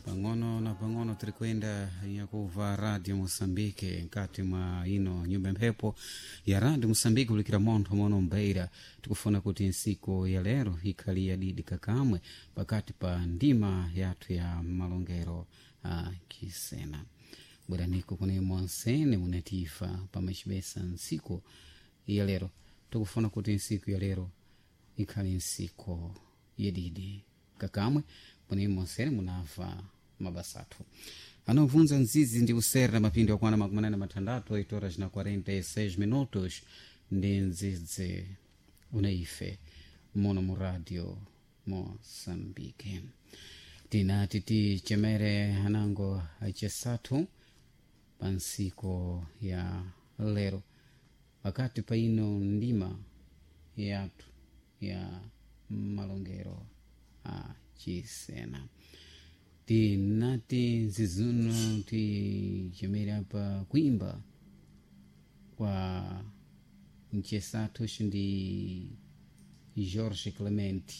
Pang'ono na pang'ono tiri kwenda yakuva Radio Moçambique nkati mwa ino nyumba mphepo ya Radio Moçambique kulikira montho mono mbeira. Tikufuna kuti nsiku ya lero ikhali yadidi kakamwe pakati pa ndima yathu ya malongero a kisena. Bweraniko kune monsene munatifa pamachibesa nsiku ya lero. Tikufuna kuti nsiku ya lero ikhali nsiku yadidi kakamwe kune monsene munamva mabasa athu anobvunza nzizi ndi usera mapindi akwana 86, 8 horas na 46 minutos, ndi nzidzi unaife muno mu Radio Moçambique. Tinati tichemere anango acesathu pa nsiku ya lero pakati pa ino ndima yathu ya malongero a chisena. Tinati nzizuno tichemere apa kuimba kwa mchesathu ndi Jorge Clemente.